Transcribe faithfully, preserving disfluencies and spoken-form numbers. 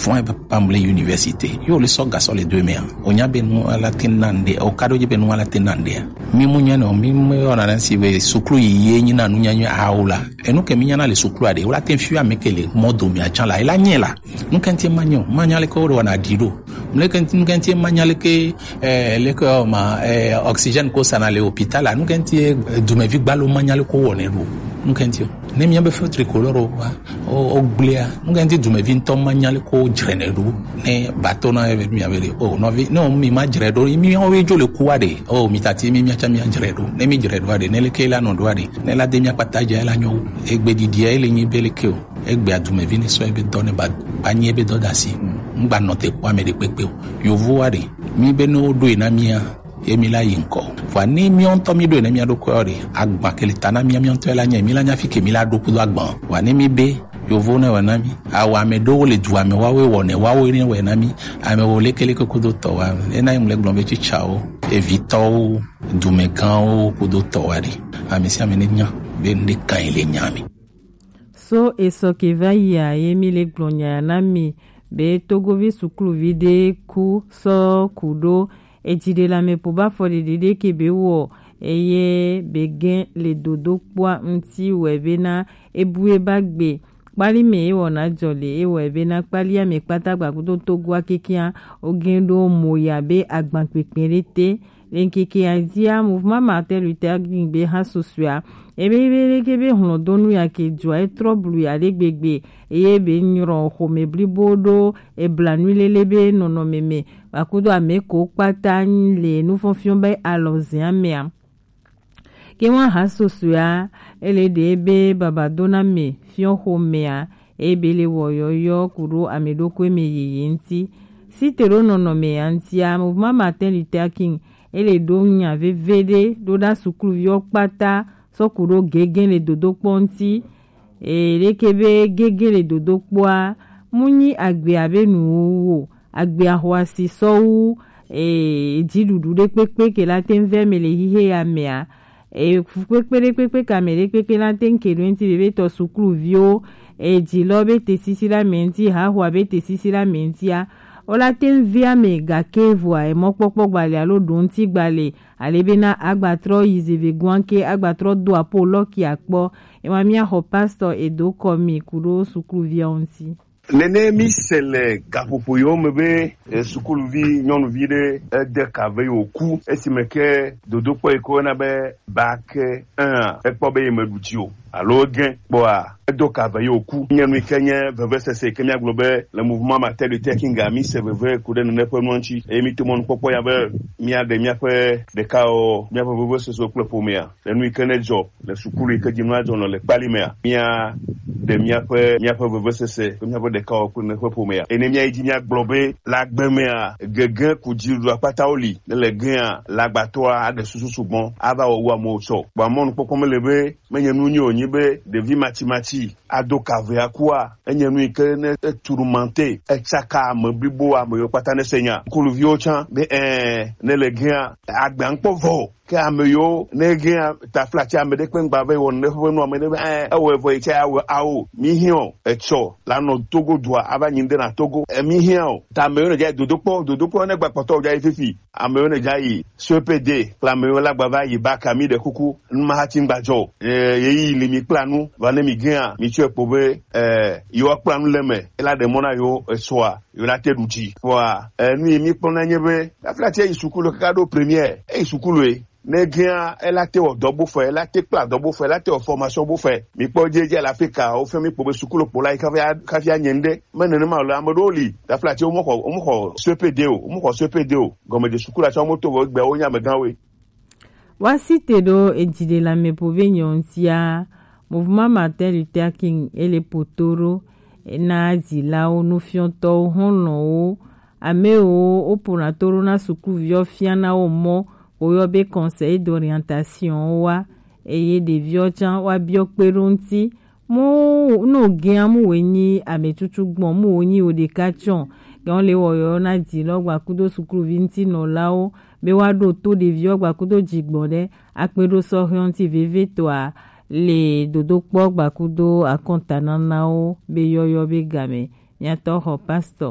Fún ebe pamble université. Yo le sɔ gasɔ le do emea. O nya be nu ala te na nde. O kado je be nu ala te na nde. Mi mu nya no, mi mu yo na si be sukulu yi ye nyi na nu nya nyo a o la. Enu ke mi nya na le sukulu ade. O la te fi ame ke le modo mi a chan la. E la nye la. Nu ke nti ma nyo. Ma nya le ko do na di do. Mu le ke nti, nu ke nti ma nya le ke, eh, le ko ma, eh, oxygène ko sa na le hôpital la. Nu ke nti, eh, dumevi gbalo ma nya le ko wo ne do. Nu ke nti o. Ne mi be fo tricolore o wa. O, o gblea, nu ke nti dumevi ŋutɔ ma nya le ko dzre ne ɖo. Ne ba to na ebe mi ave le, o nɔvi, ne o mi ma dzre ɖo, mi o we dzo le ku wa ɖe. O mi tati mi mi atsa mi adzre ɖo. Ne mi dzre ɖo wa ɖe, ne le ke la nɔ ɖo wa ɖe. Ne la de mi akpata dze la nyo. Egbe ɖiɖia ele nyi be le ke o. Egbe adumevi ne sɔ ebe dɔ ne ba, ba nyi ebe dɔ dasi. Ŋgba nɔ te kpɔ ame ɖe kpekpe o. Yovo wa ɖe. Mi be ne o ɖo e na mia. Ye mi la yi ŋkɔ. Vɔa ne miɔ ŋutɔ mi ɖo ne mia ɖokui ɔ ɖe, agba ke le ta na mia miɔ ŋutɔ la nye mi la nya fi ke mi la ɖo kudo agba. Vɔa ne mi be yovo ne wɔ na mi. Awɔ ame ɖewo le dua me, woawoe wɔ ne, woawoe ne wɔ na mi. Ame wo lekeleke kudo tɔ wa. Ena yi mu le gblɔ be tsitsawo, evitɔwo, dumegãwo kudo tɔ wa ɖe. Ame sia ame ne nya be nu ɖe kan yi le nya me. So esɔ ke va yia ye mi le gblɔ nya na mi be togovi sukluvi ɖe ku sɔ ku ɖo edziɖelame po ba fɔ ɖeɖe ɖe ke be wɔ eye be gɛn le dodo kpɔa ŋuti wɛ be na ebu e ba gbe kpali me ewɔ na jɔ le ewɔ be na kpali ame kpata gba kudo togoa kekia o gɛn ɖo mo ya be agban kpekpe ɖe te. Le ŋkeke ya dzia, Mouvement Martin Luther King be hã susɔea, ebe be leke be hlɔdonu ya ke dzɔa, etrɔ blu ya ɖe gbegbe, eye be nyrɔ xɔme blibo ɖo eblanui lele be nɔnɔme me, vakudo ame ko kpata le nufɔnfiɔ be alɔzɛa mea. Ke wa hã susɔea, ele ɖe be babadona me fiɔ xɔmea, eye be le wɔyɔyɔ kuɖo ame ɖokui me yeye ŋuti. Site ɖo nɔnɔme ya ŋutia, Mouvement Martin Luther King, ele ɖo nya veve ɖe ɖo ɖa sukluviwo kpata sɔ ku ɖo gege le dodokpɔ ŋuti. E, leke be gege le dodokpɔa, mu nyi agbe abe nuwuwu o, agbe axɔasi sɔ wu, e, dziɖuɖu ɖe kpekpe ke la te ŋu vɛ me le xixe ya mea. E, fukpekpe ɖe kpekpe ka mɛ ɖe kpekpe la te ŋu ke ɖo ŋuti vevitɔ sukluviwo, e, dzilɔ be te sisi la mɛ ŋuti, haxoa be te sisi la mɛ ŋutia, wo la te ŋu via mɛ gake vɔa, e, mɔkpɔkpɔ gbalɛ alo ɖo ŋuti gbalɛ, ale be na agbatrɔ yi zeve guanke, agbatrɔ do apo lɔki akpɔ, e, wa mia xɔ pastor e do kɔ mi ku ɖo sukluviawo ŋuti. Nene mi se le gaƒoƒo yiwo me be, e, sukuluvi nyɔnuvi ɖe ede ka ve yewo ku esime ke dodokpɔ yi ke woyɔna be bac un a, ekpɔ be yemeɖu dzi o alo egẽ kpɔa, edo ka ve yewo ku. Nye nu yi ke nye vevesese yi ke míagblɔ be le Mouvement Martin Luther King a, mi se veve ku ɖe nene ƒe nua ŋuti eye mi to mɔnukpɔkpɔ ya be míaɖe míaƒe ɖekawɔwɔ, míaƒe vevesesewo kple ƒomea le nu yi ke nedzɔ le sukulu yi ke dzi nua dzɔ nɔ le kpali mea, mía ɖe míaƒe, míaƒe vevesese kple míaƒe ɖekawɔwɔ kple míaƒe ƒomea. Eye ne míayi dzi míagblɔ be le agbe mea, gege ku dziɖuɖu akpatawo li, ne le gea, le agbatɔa aɖe susu sugbɔ ava wɔ wu amewo tsɔ. Vɔa mɔnukpɔkpɔ mele be menye nu nyui wònyi be ɖevi matsimatsi ado ka ve akua, enye nu yi ke ne etu ɖo mante, etsaka ame blibo, ame yiwo kpata ne se nya. Sukuluviwo tsã be, ɛ, ne le gea, agbea ŋkpɔ vɔ o. Ke ame yiwo ne gea taflatsi ame ɖe kpe ŋgba ve wɔ ne ƒe nu ame ɖe be, ɛ, ewɔe vɔ yi tsɛ awɔ awo. Mi hiã o, etsɔ la nɔ Togo dua ava nyi ŋɖe na Togo. E, mi hiã o. Ta ame yiwo ne dza yi dodokpɔ, dodokpɔ ne gba kpɔtɔ dza yi fifi. Ame yiwo ne dza yi C P D kple ame yiwo la gba va yi bac a, mi ɖe kuku, nu ma hati ŋgba dzɔ o. E, ɣeyiɣi li mi kpla nu, va ne mi gea, mi tsɔe kpɔ be, e, yewoa kpla nu le me, ela ɖe mɔ na yewo etsɔa, yewo la te ɖu dzi. Vɔa, e, nu yi mi kpɔna nye be, taflatsi yi sukulu kaka ɖo première, eyi sukulu e, ne gea, ela te wɔ dɔ bo fɛ, ela te kpla dɔ bo fɛ, ela te wɔ formation bo fɛ. Mi kpɔ dzi dzi le Afrika, wo fɛ mi kpɔ be sukulu kpɔ la yi kafi a, kafi a nye ŋɖe. Me nenema o le, ame ɖewo li, taflatsi wo mexɔ, wo mexɔ C P D o, wo mexɔ C P D o. Gɔmedze sukulu atsɔ mo to vɔ gbe wo nya amegãwoe. Woasi te ɖo edziɖelame po be nyɔ ŋutia, Mouvement Martin Luther King ele poto ɖo na dzilawo, nufiɔtɔwo, xɔlɔ̃wo, ame yiwo woƒona to ɖo na sukuviwo fiana wo mɔ, woyɔ be conseil d'orientation wa, eye ɖeviwo tsã woabiɔ kpe ɖo ŋuti. Mu no gea mu wòe nyi ame tutu gbɔn, mu wòe nyi wò ɖeka tsɔ. Gã le wɔyɔ na dzi lɔ gba kudo sukluvi ŋuti nɔlawo be woaɖo to ɖeviwo gba kudo dzigbɔ ɖe akpe ɖo sɔhɛ ŋuti vevitɔa le dodokpɔ gba kudo akɔntananawo be yɔyɔ be game. Miatɔ xɔ pastor.